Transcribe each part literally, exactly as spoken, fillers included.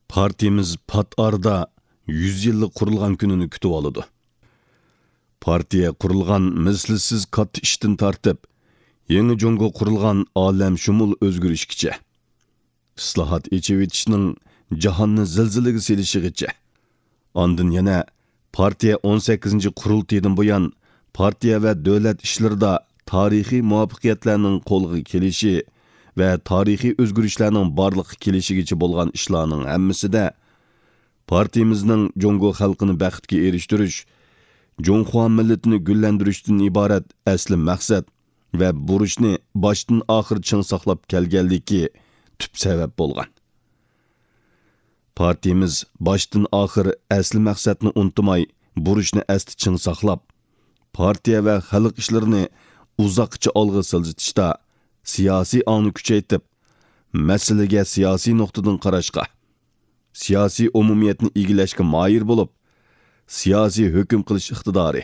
پارتىيىمىز پات ئارىدا يۈز يىللىق قۇرۇلغان كۈنىنى كۈتۈۋالىدۇ. پارتىيە قۇرۇلغان مىسلىسىز كاتتا ئىشتىن تارتىپ، يېڭى جۇڭگو قۇرۇلغان ئالەمشۇمۇل ئۆزگىرىشكىچە، ئىسلاھات، ئېچىۋېتىشنىڭ جاھاننى زىلزىلىگە سېلىشىغىچە، ئاندىن يەنە پارتىيە ئون سەككىزىنچى قۇرۇلتىيىدىن بۇيان پارتىيە ۋە دۆلەت ئىشلىرىدا تارىخىي مۇۋەپپەقىيەتلەرنىڭ قولغا كېلىشى ۋە تارىخىي ئۆزگىرىشلەرنىڭ بارلىققا كېلىشىگىچە بولغان ئىشلارنىڭ ھەممىسىدە پارتىيىمىزنىڭ جۇڭگو خەلقىنى بەختكە ئېرىشتۈرۈش، جۇڭخۇا مىللىتىنى گۈللەندۈرۈشتىن ئىبارەت ئەسلى مەقسەت ۋە بۇرچنى باشتىن ئاخىر چىڭ ساقلاپ كەلگەنلىكى تۈپ سەۋەب بولغان. پارتىيىمىز باشتىن ئاخىر ئەسلى مەقسەتنى ئۇنتۇماي، بۇرچنى ئەستە چىڭ ساقلاپ، پارتىيە ۋە خەلق ئىشلىرىنى ئۇزاققىچە ئالغا سىلجىتىشتا سىياسىي ئاڭنى كۈچەيتىپ، مەسىلىگە سىياسىي نۇقتىدىن قاراشقا، سىياسىي ئومۇمىيەتنى ئىگىلەشكە ماھىر بولۇپ، سىياسىي ھۆكۈم قىلىش ئىقتىدارى،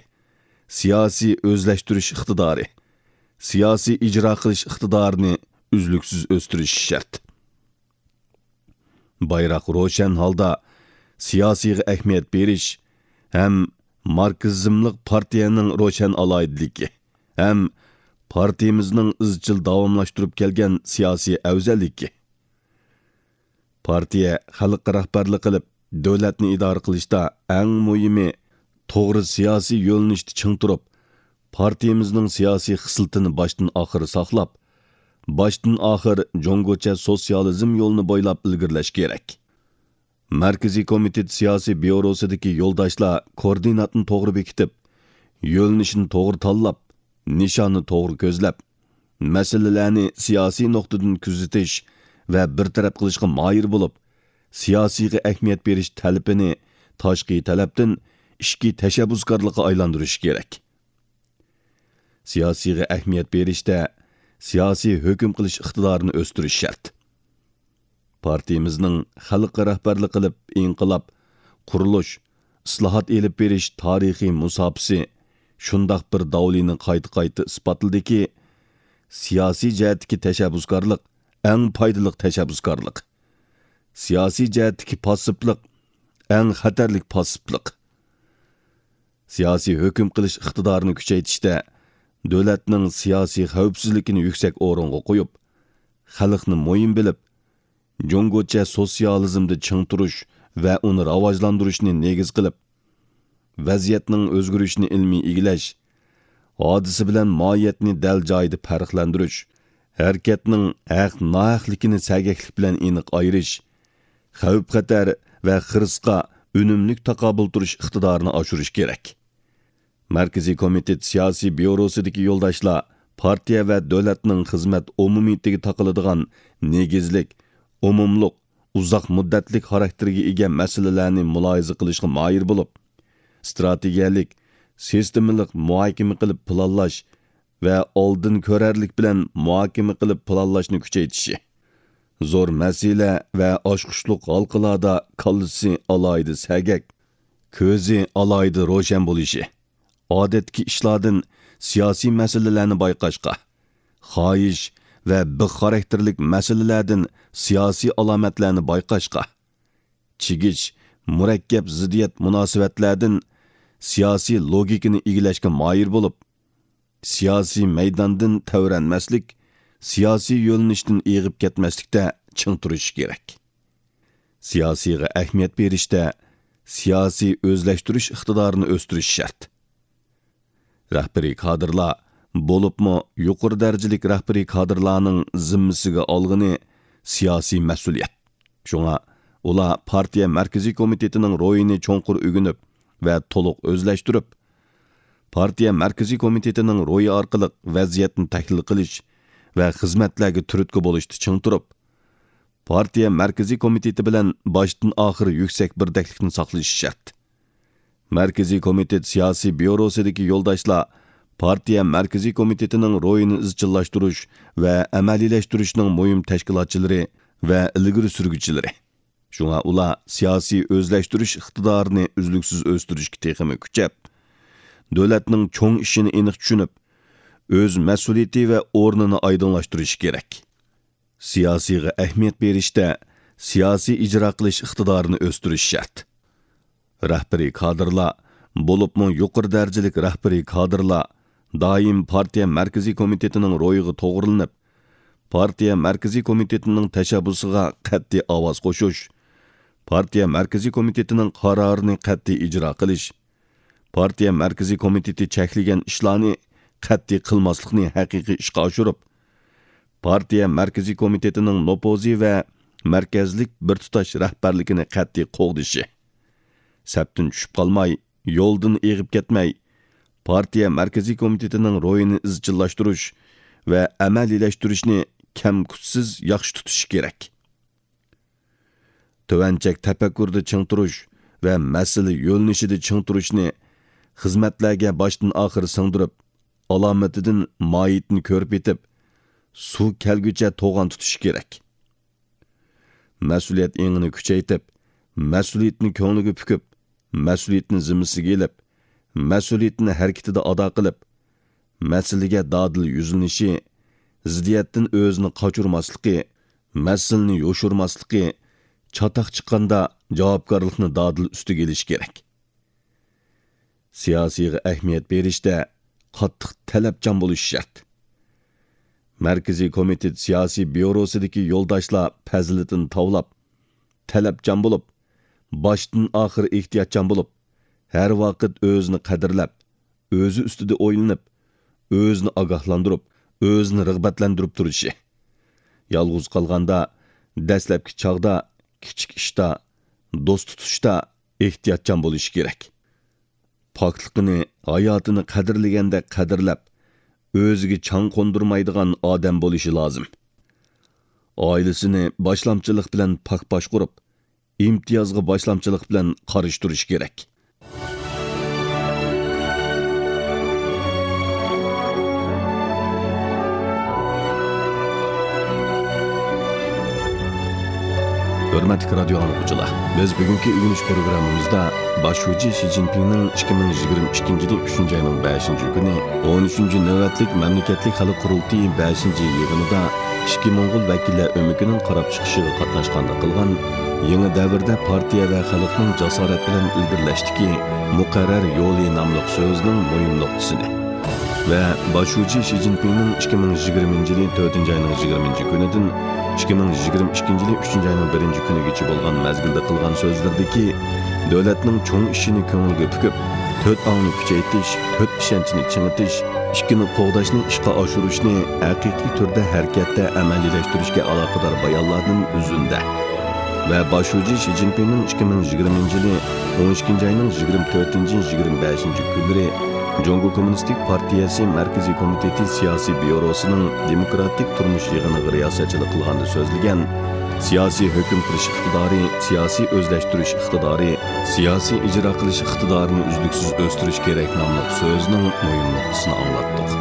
سىياسىي ئۆزلەشتۈرۈش ئىقتىدارى، سىياسىي ئىجرا قىلىش ئىقتىدارىنى ئۈزلۈكسىز ئۆستۈرۈش شەرت. بايراق روشەن ھالدا سىياسىيغا ئەھمىيەت بېرىش ھەم ماركسىزملىق پارتىيەنىڭ روشەن ئالاھىدىلىكى ھەم پارتىيىمىزنىڭ ئىزچىل داۋاملاشتۇرۇپ كەلگەن سىياسىي ئەۋزەللىكى. پارتىيە خەلققە رەھبەرلىك قىلىپ، دۆلەتنى ئىدارە قىلىشتا ئەڭ مۇھىمى، توغرا سىياسىي يۆنىلىشتە چىڭ تۇرۇپ، پارتىيىمىزنىڭ سىياسىي خىسلىتىنى باشتىن ئاخىر ساقلاپ، باشتىن ئاخىر جۇڭگوچە سوتسىيالىزم يولىنى بويلاپ ئىلگىرىلەش كېرەك. مەركىزىي كومىتېت سىياسىي بيۇروسىدىكى يولداشلار كوردىناتنى توغرا بېكىتىپ، يۆنىلىشنى توغرا تاللاپ، نىشاننى توغرا كۆزلەپ، مەسىلىلەرنى سىياسىي نۇقتىدىن كۆزىتىش ۋە بىر تەرەپ قىلىشقا ماھىر بولۇپ، سىياسىيغا ئەھمىيەت بېرىش تەلىپىنى تاشقى تەلەپتىن ئىچكى تەشەببۇسكارلىققا ئايلاندۇرۇش كېرەك. سىياسىيغا ئەھمىيەت بېرىشتە سىياسىي ھۆكۈم قىلىش ئىقتىدارىنى ئۆستۈرۈش شەرت. پارتىيىمىزنىڭ خەلققە رەھبەرلىك قىلىپ ئىنقىلاب، قۇرۇلۇش، ئىسلاھات ئېلىپ بېرىش تارىخىي مۇساپىسى شۇنداق بىر داۋلىنى قايتا-قايتا ئىسپاتلىدىكى، سىياسىي جەھەتتىكى تەشەببۇسكارلىق ئەڭ پايدىلىق تەشەببۇسكارلىق، سىياسىي جەھەتتىكى پاسسىپلىق ئەڭ خەتەرلىك پاسسىپلىق. سىياسىي ھۆكۈم قىلىش ئىقتىدارىنى كۈچەيتىشتە دۆلەتنىڭ سىياسىي خەۋپسىزلىكىنى يۈكسەك ئورۇنغا قويۇپ، خەلقنى مۇھىم بىلىپ، جۇڭگوچە سوتسىيالىزمدا چىڭ تۇرۇش ۋە ئۇنى راۋاجلاندۇرۇشنى نېگىز قىلىپ، ۋەزىيەتنىڭ ئۆزگىرىشىنى ئىلمىي ئىگىلەش، ھادىسە بىلەن ماھىيەتنى دەل جايىدا پەرقلەندۈرۈش، ھەرىكەتنىڭ ھەق-ناھەقلىكىنى سەگەكلىك بىلەن ئېنىق ئايرىش، خەۋپ-خەتەر ۋە خىرىسقا ئۈنۈملۈك تاقابىل تۇرۇش ئىقتىدارىنى ئاشۇرۇش كېرەك. مەركىزىي كومىتېت سىياسىي بيۇروسىدىكى يولداشلار پارتىيە ۋە دۆلەتنىڭ خىزمەت ئومۇمىيىتىگە تاقىلىدىغان نېگىزلىك، ئومۇملۇق، ئۇزاق مۇددەتلىك خاراكتېرگە ئىگە مەسىلىلەرنى مۇلاھىزە قىلىشقا ماھىر بولۇپ، ئىستراتېگىيەلىك، سىستېمىلىق مۇھاكىمە قىلىپ پىلانلاش ۋە ئالدىن كۆرەرلىك بىلەن مۇھاكىمە قىلىپ پىلانلاشنى كۈچەيتىشى، زور مەسىلە ۋە ئاچقۇچلۇق ھالقىلاردا كاللىسى ئالاھىدە سەگەك، كۆزى ئالاھىدە روشەن بولۇشى، ئادەتتىكى ئىشلاردىن سىياسىي مەسىلىلەرنى بايقاشقا، خاھىش ۋە بىخ خاراكتېرلىك مەسىلىلەردىن سىياسىي ئالامەتلەرنى بايقاشقا، چىگىش، مۇرەككەپ زىددىيەت مۇناسىۋەتلەردىن سىياسىي لوگىكىنى ئىگىلەشكە ماھىر بولۇپ، سىياسىي مەيداندىن تەۋرەنمەسلىك، سىياسىي يۆنىلىشتىن ئېغىپ كەتمەسلىكتە چىڭ تۇرۇشى كېرەك. سىياسىيغا ئەھمىيەت بېرىشتە سىياسىي ئۆزلەشتۈرۈش ئىقتىدارىنى ئۆستۈرۈش شەرت. رەھبىرىي كادىرلار، بولۇپمۇ يۇقىرى دەرىجىلىك رەھبىرىي كادىرلارنىڭ زىممىسىگە ئالغىنى سىياسىي مەسئۇلىيەت. شۇڭا ئۇلار پارتىيە مەركىزىي كومىتېتىنىڭ روھىنى چوڭقۇر ئۆگىنىپ ۋە تولۇق ئۆزلەشتۈرۈپ، پارتىيە مەركىزىي كومىتېتىنىڭ روھى ئارقىلىق ۋەزىيەتنى تەھلىل قىلىش ۋە خىزمەتلەرگە تۈرتكە بولۇشتا چىڭ تۇرۇپ، پارتىيە مەركىزىي كومىتېتى بىلەن باشتىن ئاخىر يۈكسەك بىردەكلىكنى ساقلىشى شەرت. مەركىزىي كومىتېت سىياسىي بيۇروسىدىكى يولداشلار پارتىيە مەركىزىي كومىتېتىنىڭ روھىنى ئىزچىللاشتۇرۇش ۋە ئەمەلىيلەشتۈرۈشنىڭ مۇھىم تەشكىلاتچىلىرى ۋە ئىلگىرى سۈرگۈچىلىرى. شۇڭا ئۇلار سىياسىي ئۆزلەشتۈرۈش ئىقتىدارىنى ئۈزلۈكسىز ئۆستۈرۈشكە تېخىمۇ كۈچەپ، دۆلەتنىڭ چوڭ ئىشىنى ئېنىق چۈشىنىپ، ئۆز مەسئۇلىيىتى ۋە ئورنىنى ئايدىڭلاشتۇرۇشى كېرەك. سىياسىيغا ئەھمىيەت بېرىشتە سىياسىي ئىجرا قىلىش ئىقتىدارىنى ئۆستۈرۈش شەرت. رەھبىرىي كادىرلار، بولۇپمۇ يۇقىرى دەرىجىلىك رەھبىرىي كادىرلار دائىم پارتىيە مەركىزىي كومىتېتىنىڭ روھىغا توغرىلىنىپ، پارتىيە مەركىزىي كومىتېتىنىڭ تەشەببۇسىغا قەتئىي ئاۋاز قوشۇش، پارتىيە مەركىزىي كومىتېتىنىڭ قارارىنى قەتئىي ئىجرا قىلىش، پارتىيە مەركىزىي كومىتېتى چەكلىگەن ئىشلارنى قەتئىي قىلماسلىقنى ھەقىقىي ئىشقا ئاشۇرۇپ، پارتىيە مەركىزىي كومىتېتىنىڭ نوپۇزى ۋە مەركەزلىك بىر تۇتاش رەھبەرلىكىنى قەتئىي قوغدىشى، سەپتىن چۈشۈپ قالماي، يولدىن ئېغىپ كەتمەي، پارتىيە مەركىزىي كومىتېتىنىڭ روھىنى ئىزچىللاشتۇرۇش ۋە ئەمەلىيلەشتۈرۈشنى كەمكۈتسىز ياخشى تۇتۇشى كېرەك. تۆۋەن چەك تەپەككۇرىدا چىڭ تۇرۇش ۋە مەسىلە يۆنىلىشىدە چىڭ تۇرۇشنى خىزمەتلەرگە باشتىن ئاخىر سىڭدۈرۈپ، ئالامىتىدىن ماھىيىتىنى كۆرۈپ يېتىپ، سۇ كەلگۈچە توغان تۇتۇشى كېرەك. مەسئۇلىيەت ئېڭىنى كۈچەيتىپ، مەسئۇلىيىتىنى كۆڭلىگە پۈكۈپ، مەسئۇلىيىتىنى زىممىسىگە ئېلىپ، مەسئۇلىيىتىنى ھەرىكىتىدە ئادا قىلىپ، مەسىلىگە دادىل يۈزلىنىشى، زىددىيەتتىن ئۆزىنى قاچۇرماسلىقى، مەسىلىنى يوشۇرماسلىقى، چاتاق چىققاندا جاۋابكارلىقنى دادىل ئۈستىگە ئېلىشى كېرەك. سىياسىيغا ئەھمىيەت بېرىشتە قاتتىق تەلەپچان بولۇش شەرت. مەركىزىي كومىتېت سىياسىي بيۇروسىدىكى يولداشلار پەزىلىتىنى تاۋلاپ، تەلەپچان بولۇپ، باشتىن ئاخىر ئېھتىياتچان بولۇپ، ھەر ۋاقىت ئۆزىنى قەدىرلەپ، ئۆزى ئۈستىدە ئويلىنىپ، ئۆزىنى ئاگاھلاندۇرۇپ، ئۆزىنى رىغبەتلەندۈرۈپ تۇرۇشى. يالغۇز قالغاندا، دەسلەپكى چاغدا، كىچىك ئىشتا، دوست تۇتۇشتا ئېھتىياتچان بولۇشى كېرەك. پاكلىقىنى، ھاياتىنى قەدىرلىگەندەك قەدىرلەپ، ئۆزىگە چاڭ قوندۇرمايدىغان ئادەم بولۇشى لازىم. ئائىلىسىنى باشلامچىلىق بىلەن پاك باشقۇرۇپ، ئىمتىيازغا باشلامچىلىق بىلەن قارشى تۇرۇشى كېرەك. ھۆرمەتلىك رادىيو ئاڭلىغۇچىلار، بىز بۈگۈنكى ئۆگىنىش پروگراممىمىزدا باش شۇجى شى جىنپىڭنىڭ ئىككى مىڭ يىگىرمە ئىككىنچى يىلى ئۈچىنچى ئاينىڭ بەشىنچى كۈنى ئون ئۈچىنچى نۆۋەتلىك مەملىكەتلىك خەلق قۇرۇلتىيى بەشىنچى يىغىنىدا ئىچكى موڭغۇل ۋەكىللەر ئۆمىكىنىڭ قاراپ چىقىشىغا قاتناشقاندا قىلغان يېڭى دەۋردە پارتىيە ۋە خەلقنىڭ جاسارەت بىلەن ئىلگىرىلەشتىكى مۇقەررەر يولى ناملىق سۆزىنىڭ مۇھىم نۇقتىسىنى ۋە باش شۇجى شى جىنپىڭنىڭ ئىككى مىڭ يىگىرمىنچى يىلى تۆتىنچى ئاينىڭ يىگىرمىنچى كۈنىدىن ئىككى مىڭ يىگىرمە ئىككىنچى يىلى ئۈچىنچى ئاينىڭ بىرىنچى كۈنىگىچە بولغان مەزگىلدە قىلغان سۆزلىرىدىكى دۆلەتنىڭ چوڭ ئىشىنى كۆڭۈلگە پۈكۈپ، تۆت ئاڭنى كۈچەيتىش، تۆت ئىشەنچنى چىڭىتىش، ئىككىنى قوغداشنى ئىشقا ئاشۇرۇشنى ھەقىقىي تۈردە ھەرىكەتتە ئەمەلىيلەشتۈرۈشكە ئالاقىدار بايانلاردىن ئۈزۈندە ۋە باش شۇجى شى جىنپىڭنىڭ ئىككى مىڭ يىگىرمىنچى يىلى ئون ئىككىنچى ئاينىڭ يىگىرمە تۆتىنچى، يىگىرمە بەشىنچى كۈنلىرى جۇڭگو كوممۇنىستىك پارتىيەسى مەركىزىي كومىتېتى سىياسىي بيۇروسىنىڭ دېموكراتىك تۇرمۇش يىغىنىغا رىياسەتچىلىك قىلغاندا سۆزلىگەن سىياسىي ھۆكۈم قىلىش ئىقتىدارى، سىياسىي ئۆزلەشتۈرۈش ئىقتىدارى، سىياسىي ئىجرا قىلىش ئىقتىدارىنى ئۈزلۈكسىز ئۆستۈرۈش كېرەك ناملىق سۆزىنىڭ مۇھىم نۇقتىسىنى ئاڭلاتتۇق.